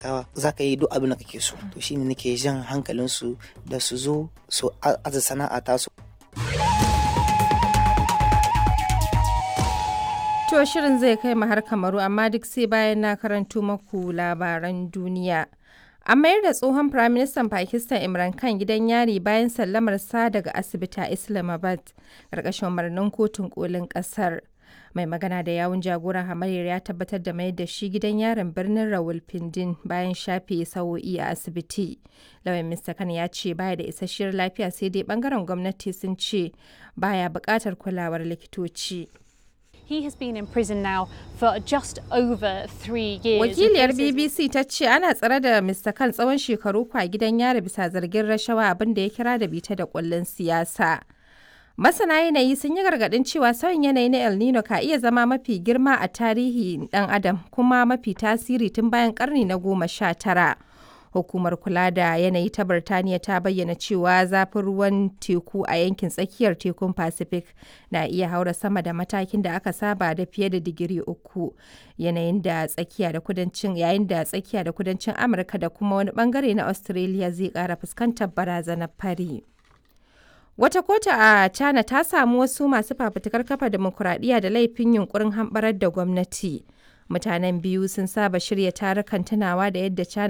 Kawa za ka yi duk abin da kake so. To shine nake jan hankalinsu da su zo su aza sana'a tasu. To shirin zai kai mu har Kamaru, amma duk sai bayan na karanto maku labaran duniya. An mayar da tsohon Firaministan Pakistan Imran Khan gidan yari bayan sallamar sa daga asibiti a Islamabad, ƙarƙashin umarnin kotun kolin ƙasar. Mai magana da yawun jagoran hamayyar ya tabbatar da mayar da shi gidan yarin birnin Rawalpindi bayan shafe sa'o'i a asibiti. Lauyan Mr. Khan ya ce baya da isasshiyar lafiya, sai dai bangaren gwamnati sun ce baya buƙatar kulawar likitoci. He has been in prison now for just over 3 years. Wakiliyar BBC ta ce ana tsare da Mr. Khan tsawon shekaru kwa gidan yari bisa zargin rashawa, abin da ya kira da bita da kullun siyasa. Masana yanayi sun yi gargaɗin cewa sauyin yanayi na El Nino ka iya zama mafi girma a tarihi ɗan adam kuma mafi tasiri tun bayan karni na 19. Hukumar kula da yanayi ta Birtaniya ta bayyana cewa zafin ruwan teku a yankin tsakiyar tekun Pacific na iya haura sama da matakin da aka saba da fiye da digiri 3. Yanayin da tsakiya da kudancin yayin da tsakiya da kudancin Amurka da kuma wani bangare na Australia zai kara fuskantar barazanar fari. Wata kotu a China ta samu wasu masu fafutukar kafa dimokuraɗiyya da laifin yunkurin hamɓarar da gwamnati. Mutanen biyu sun saba shirya tarukan tunawa da yadda China